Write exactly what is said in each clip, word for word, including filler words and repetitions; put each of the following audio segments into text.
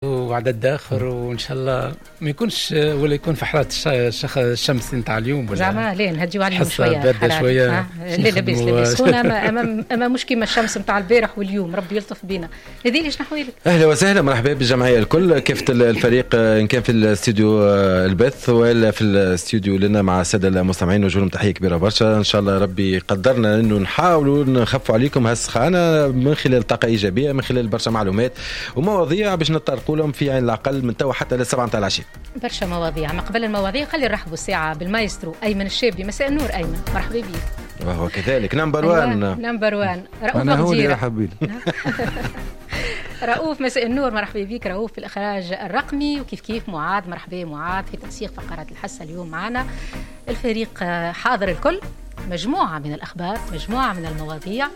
وعدد اخر، وان شاء الله ما يكونش ولا يكون في حرارة الشمس نتاع اليوم ولا زعما لا نهديو عليهم شوية شوية. لا لاباس لاباس سخونة، اما اما مش كيما الشمس نتاع البارح واليوم، ربي يلطف بينا. هذه ليش نحوالك؟ اهلا وسهلا، مرحبا بالجمعيه الكل، كافة الفريق ان كان في الاستوديو البث ولا في الاستوديو لنا مع السادة المستمعين، وجوههم تحية كبيرة برشا. ان شاء الله ربي قدرنا انه نحاولوا نخفوا عليكم هالسخانه من خلال طاقة ايجابية، من خلال برشا معلومات ومواضيع باش نطرقوا لهم في عين العقل من توا حتى للسبعة نتاع العشية. برشا مواضيع. ما قبل المواضيع خلي نرحبوا الساعة بالمايسترو أيمن الشابي. مساء النور أيمن، مرحبا بك. وهو كذلك number واحد. number واحد رؤوف. أنا هو اللي رحب بي. رؤوف مساء النور، مرحبا بك رؤوف في الإخراج الرقمي، وكيف كيف معاذ، مرحبا معاذ في تنسيق فقرات الحصة. اليوم معنا الفريق حاضر الكل، مجموعة من الأخبار، مجموعة من المواضيع.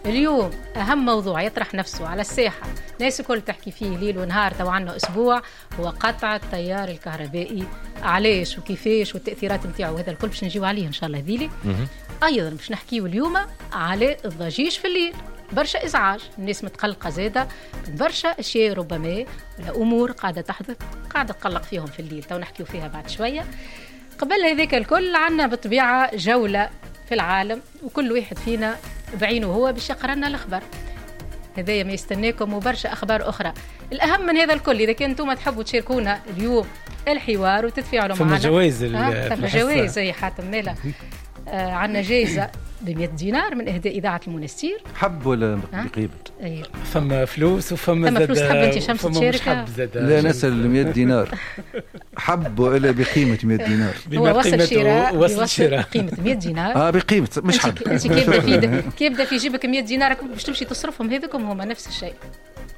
اليوم أهم موضوع يطرح نفسه على الساحة، ناس الكل تحكي فيه ليل ونهار تو عنا أسبوع، هو قطع التيار الكهربائي. علاش وكيفاش والتأثيرات نتاعو، هذا الكل باش نجيو عليه إن شاء الله ذيلي. أيضا باش نحكيو اليوم على الضجيج في الليل، برشا إزعاج، الناس متقلقة زادة من برشا أشياء ربما ولا أمور قاعدة تحدث قاعدة تقلق فيهم في الليل، تو نحكيو فيها بعد شوية. قبل هذاك الكل عنا بالطبيعة جولة في العالم، وكل واحد فينا بعينه هو باش يقرأ لنا الأخبار. هذايا ما يستناكم وبرشا أخبار أخرى. الأهم من هذا الكل، إذا كنتم ما تحبوا تشاركونا اليوم الحوار وتتفاعلوا معنا، فما جوائز، فما جوائز يا حاتم مالا. آه عندنا جائزة بمئة دينار من إهداء إذاعة المنستير. حب ولا بقيمة؟ أيه. فما فلوس وفما فما فلوس. تحب أنت شمس تشارك؟ لا نسأل مئة دينار حب ولا بقيمة مئة دينار؟ هو وصل شراء، وصل شراء قيمة مئة دينار. اه بقيمة مش حب. أنت كي يبدا في كي يبدا في جيبك مئة دينار باش تمشي تصرفهم هذوكم هما نفس الشيء.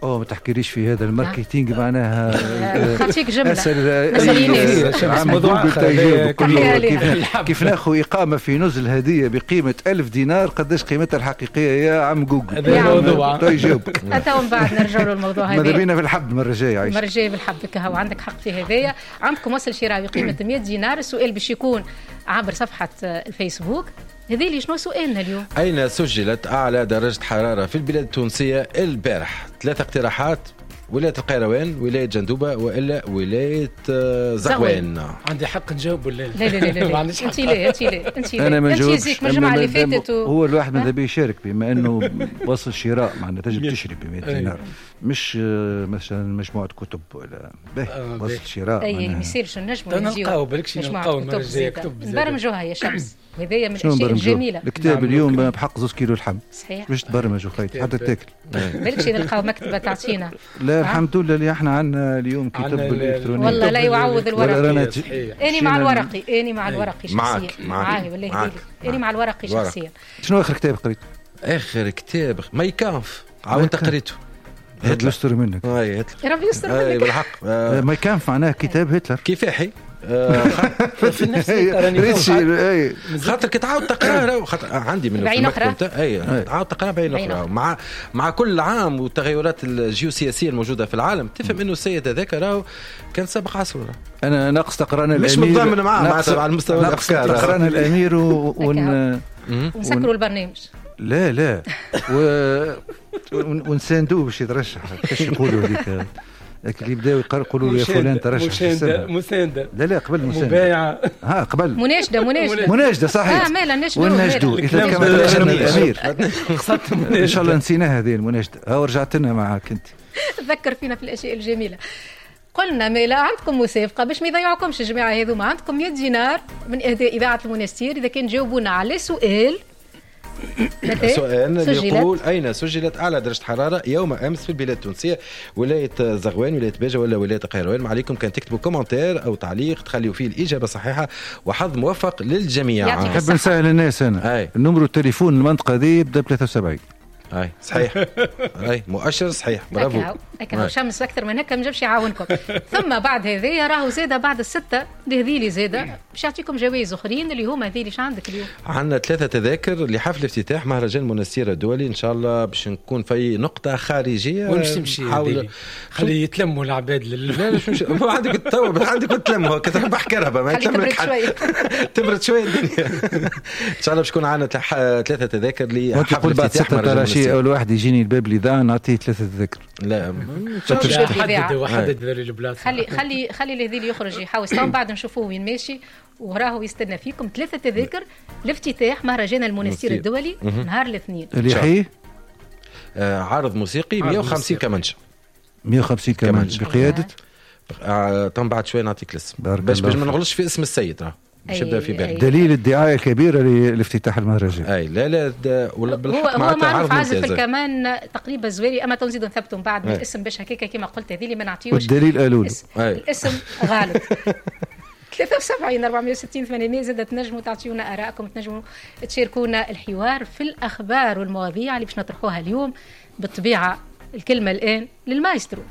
اوه ما تحكيليش في هذا ال marketing معناها خاطيك جملة. اسال موضوع كيف كيف ناخذ اقامه في نزل هديه بقيمة ألف دينار، قداش قيمتها الحقيقية يا عم جوجل؟ هذا الموضوع يجاوبك. حتى ومن بعد نرجعوا للموضوع هذا. ماذا بينا في الحب المرة الجاية. عايش المرة الجاية بالحب كهو، عندك حق في هذايا. عندكم وصل شراء بقيمة مئة دينار. السؤال باش يكون عبر صفحة الفيسبوك. هذه اللي شنو سؤالنا اليوم؟ أين سجلت أعلى درجة حرارة في البلاد التونسية البارح؟ ثلاث اقتراحات: ولاية القيروان، ولاية جندوبة، وإلا ولاية زغوان. عندي حق نجاوب ولا لا؟ لا لا لا لا انت لا انت لا انت لا أنا ما انت زيك من الجمعة اللي فاتت و... هو الواحد ماذا بيه يشارك بما أنه وصل شراء، معناتها تجب تشري ب مئة دينار، مش مثلا مجموعة كتب ولا به وصل شراء. أي ما يصيرش نجموا نلقاو بالكش نلقاو المرة الجاية كتب نبرمجوها يا شمس، وهذايا من الأشياء الجميلة. الكتاب اليوم بحق زوج كيلو لحم. صحيح. باش تبرمج وخيت حتى تاكل. بالكش نلقاو مكتبة تعطينا. لا الحمد لله اللي احنا عندنا اليوم كتاب الالكتروني. والله لا يعوض الورقي. اني مع الورقي، اني مع الورقي شخصيا. معاك والله اني مع الورقي شخصيا. شنو اخر كتاب قريت؟ اخر كتاب Mein Kampf، عاودت قريته. هتلر يستر منك. اي هتلر ربي يستر منك. اي بالحق. Mein Kampf معناه كتاب هتلر. كفاحي في نفس راني خاطر كي تعاود تقرا، خاطر عندي منه بعين اخرى. اي تعاود تقرا بعين اخرى مع مع كل عام والتغيرات الجيوسياسية الموجودة في العالم، تفهم انه السيد هذاك راهو كان سابق عصره. انا ناقص تقرانا الامير، مش متضامن معاه معناتها على المستوى الافكار. تقرانا الامير ون ونسكروا البرنامج. لا لا و ونساندوه باش يترشح. كيفاش يقولوا هذيك اللي بداو يقولوا يا فلان ترشح؟ مساندة مساندة. لا لا قبل مساندة، مبايعة. ها قبل مناشدة مناشدة مناشدة صحيح. اه مالا نشدو ونشدو إذا كما ترشحنا الأمير. إن شاء الله نسيناها هذه المناشدة، ها رجعت لنا معاك أنت. تذكر فينا في الأشياء الجميلة. قلنا مالا عندكم مسابقة باش ما يضيعوكمش الجماعة هذوما، عندكم مئة دينار من إهداء إذاعة المنستير إذا كان جاوبونا على سؤال. سؤال اللي يقول أين سجلت أعلى درجة حرارة يوم أمس في البلاد التونسية؟ ولاية زغوان، ولاية باجة، ولا ولاية القيروان؟ ما عليكم كان تكتبوا commentaire أو تعليق تخليوا فيه الإجابة صحيحة، وحظ موفق للجميع. نحب نسهل الناس أنا. أي. النمرو التليفون المنطقة دي يبدأ ب ثلاثة وسبعين. اي صحيح. اي مؤشر صحيح، برافو. هكا شمس اكثر من هكا ما نجمش يعاونكم. ثم بعد هذايا راهو زاده بعد الستة لهذيلي زاده باش يعطيكم جوائز اخرين اللي هما هذيلي. اش عندك اليوم؟ عندنا ثلاثة تذاكر لحفل افتتاح مهرجان منستير الدولي، ان شاء الله باش نكون في نقطة خارجية. وين باش تمشي؟ حاول خلي يتلموا العباد لل... لا لا مش عندك التو عندك تلموا كتربح كهرباء ما تبرد شوية. تبرد شوية الدنيا. ان شاء الله باش يكون عندنا ثلاثة تذاكر لحفل افتتاح مهرجان. يجي اول واحد يجيني الباب الاذاعة نعطيه ثلاثة تذاكر. لا حدد وحدد البلاصة. خلي خلي خلي الهذيل يخرج يحاوس تو بعد نشوفوه وين ماشي وراهو يستنى فيكم. ثلاثة تذاكر لافتتاح مهرجان المنستير الدولي نهار الاثنين. اللي يحيي آه عرض موسيقي مية وخمسين كمانشة. مية وخمسين كمانشة بقيادة آه طبعا بعد شوي نعطيك الاسم باش باش ما نغلطش في اسم السيد راه باش يبدا في بالك. دليل الدعاية الكبيرة لافتتاح المهرجان. اي لا لا ولا بالحق هو معروف عازف الكمان تقريبا زويري، اما تنزيد نثبتوا من بعد الاسم باش هكاك كما قلت هذه اللي ما نعطيوش والدليل قالوا الاسم غلط. ثلاثة وسبعين أربعمية وستين ثمانمية زادة تنجموا تعطيونا آرائكم، تنجموا تشاركونا الحوار في الأخبار والمواضيع اللي باش نطرحوها اليوم. بالطبيعة الكلمة الآن للمايسترو.